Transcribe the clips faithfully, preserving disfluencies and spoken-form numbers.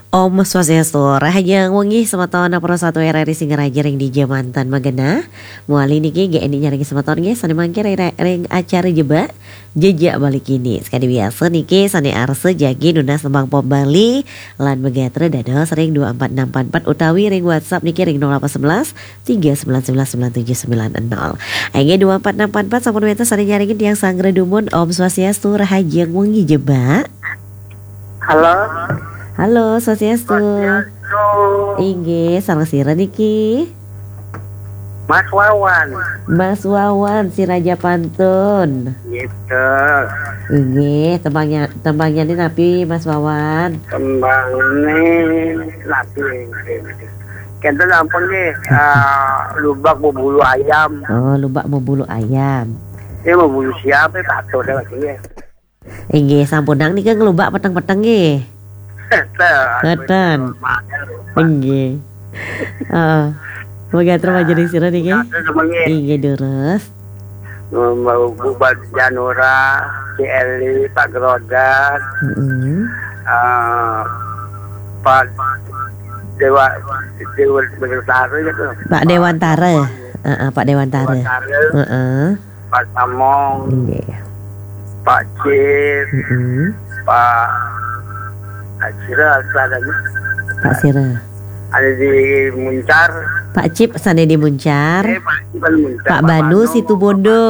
Om Swastiastu, rahajeng wengi semeton Pro Satu R R I Singaraja ring dija manten magenah. Mawali niki G N I nyarengin semeton nggih, sane mangkin ring, ring acara Jebak, Jejak Bali Kini. Sakadi biasa niki sane arsa jagi nunas tembang pop Bali lan magatra dados ring dua empat enam empat empat utawi ring WhatsApp niki ring nol delapan sebelas tiga sembilan sembilan sembilan tujuh sembilan nol. Inggih, dua empat enam empat empat sampun wenten sane nyarengin tiang sanggra dumun. Om Swastiastu, rahajeng wengi Jebak. Halo. Halo, Swastiastu. Swastiastu. Inggih, sareng sira niki? Mas Wawan. Mas Wawan, si Raja Pantun. Gitu. Inggih, tembangnya, tembangnya ini napi, Mas Wawan? Tembangnya napi? Kenten ampun nggih, eh, lubak berbulu ayam. Oh, lubak berbulu ayam. Ini berbulu siapa? Patuh dah lagi ya. Inggih, sampunang nika nglubak peteng-peteng nggih. Keten. Keten. Inggih. Heeh. Mangga terima jadi sira niki. Keten semuanya. Inggih, durus. Mbak Bu Janura, si Eli, Pak Gerodan, Mm-mm. eh, Pak Dewa, Dewa Betara gitu. Pak Dewantara. Heeh, Pak Dewantara. Dewantara. Heeh. Pak Samong, Nggih. Pak Cip, Mm-mm. Pak Cira, ada Pak Sira. Ada di Muncar. Pak Cip sane di Muncar. Eh, Pak Cip kan Muncar. Pak Pak Banu Banu, Situbondo.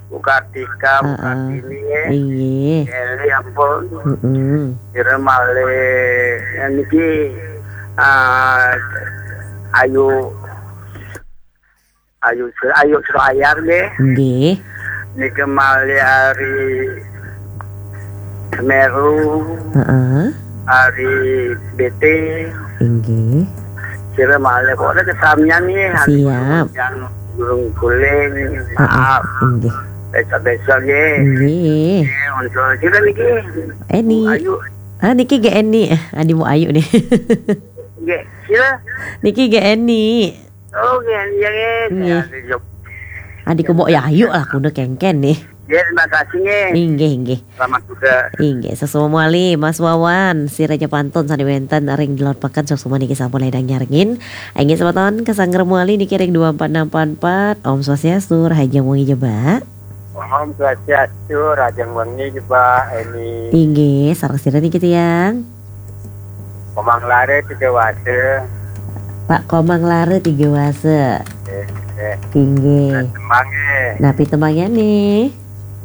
Bu Kartika, Bu Heeh. Kartini, ya. Inggih. Eli, ampun. Mm-mm. Kira malih, yang niki, ah, Ayu Ayu, Ayu Sro Ayar nggih. Nggih. Nika malih ari Semeru, Heeh. Ari B T. Inggih. Sira malih kok ada kesamian nggih. Siap. Yang burung guling. Heeh. Maaf. Inggih. Besok-besok nggih. Nggih. Nggih, untuk sira niki. Eni. Bu Ayu. Ah, niki G N I. Adi Bu Ayu nih. Nggih, sira. Niki G N I. Oh, nggih, iya, nggih. Nggih. Saya di Jog-, Adi ku Mbok Yayu lah kudu kengken nih. Nggih, terima kasih, nggih. Inggih, inggih. Selamat juga. Inggih, sesuai mawali, Mas Wawan, si Raja Pantun sane wenten ring Delod Peken, suksma niki sampun ledang nyarengin. Inggih, semeton ke sanggra mawali niki ring dua empat enam empat empat. Om Swastiastu, rahajeng wengi Jebak. Om Swastiastu, rahajeng wengi Jebak, Eni. Inggih, sareng sira niki tiang? Komang Lare Tiga Wase. Pak Komang Lare Tiga Wase. Eh, eh. Inggih. Nah, tembange. Napi tembange nih?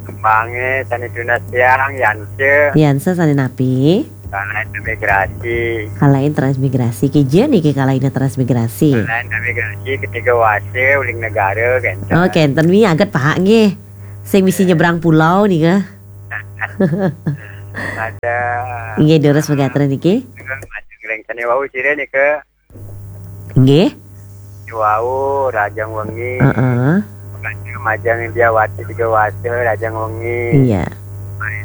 Tembange sane tunas tiang, Yanse. Yanse sane napi? Kalahin transmigrasi. Kalahin transmigrasi. Kija niki kalahin transmigrasi? Kalahin transmigrasi ke Tiga Wase, uling negara, kenten. Oh, kenten wi aget, Pak, nggih. Sing misi nyebrang pulau nika. Ada. Inggih, durus pegatra niki. Majeng ring sane wau sira nika. Inggih. Wau, rahajeng wengi. Heeh. Majeng Indiawati Tiga Wase, rahajeng wengi. Iya.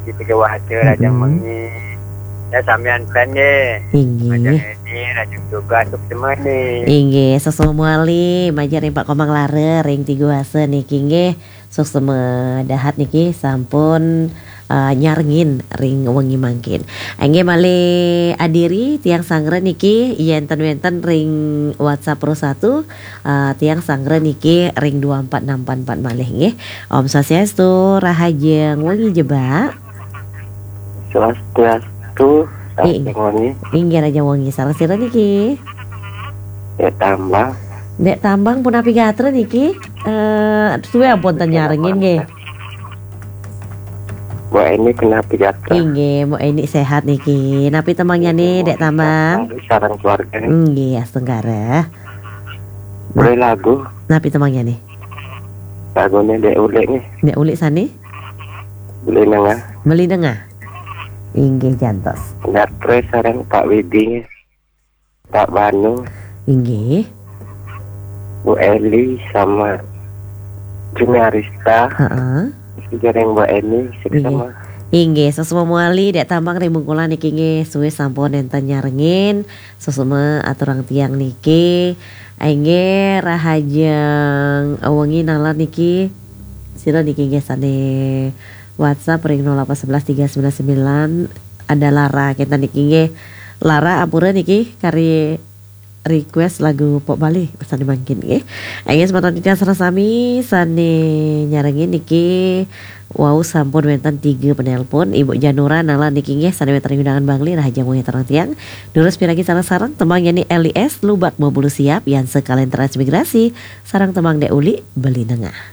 Di Tiga Wase, rahajeng Mm-mm. wengi. Ya, samian pen nggih. Inggih. Majeng Eni, rahajeng tugas, suksma nih. Inggih, sesuai mawali, majeng ring Pak Komang Lare, ring Tiga Wase niki nggih. Suksma dahat niki sampun, eh, nyarengin ring wengi mangkin. Inggih malih adiri tiang sanggra niki yen ten wenten ring WhatsApp Pro Satu, eh, tiang sanggra niki ring dua empat enam empat empat malih nggih. Om Swastiastu, rahajeng wengi Jebak. Swastiastu, Ing-, rahajeng wengi. Inggih rahajeng wengi, sareng sira niki? Dek Tambang. Dek Tambang punapi gatra niki? Eh, suwe ampun ten nyarengin nggih. Mbok Eni punapi gatra? Inggih, Mbok Eni sehat niki. Napi tembangne, Dek Tambang? Sareng keluarga. Nggih, astungkara. Boleh lagu? Napi tembangne? Lagune Dek Ulik nih. Dek Ulik sane? Beli Nengah. Beli Nengah. Inggih, jantos. Gatre sareng Pak Widi nih. Pak Banu. Inggih. Bu Eli sama Juni Arista. Heeh. Jareng Mbak Eni, sik Inggih. Sama. Inggih, suksma mawali, Dek Tambang ring Bungkulan niki nggih, suwe sampun nenten nyarengin, suksma aturang tiang niki. Inggih, rahajeng wengi nalar niki. Sira niki nggih sane WhatsApp ring nol delapan sebelas tiga sembilan sembilan ada lara kenten niki nggih. Lara ampura niki kari request lagu pop Bali sané mangkin nggih. Inggih semeton titiang sareng sami sané nyarengin niki wau sampun wénten tiga penelpon. Ibu Janura nala niki nggih sané wénten undangan Bangli, rahajeng wengi sareng tiang. Durus piragi sareng-sareng tembang nyanyi L I S Lubak Mabulu Siap, yan sekalian transmigrasi sareng tembang Dek Uli Beli Nengah.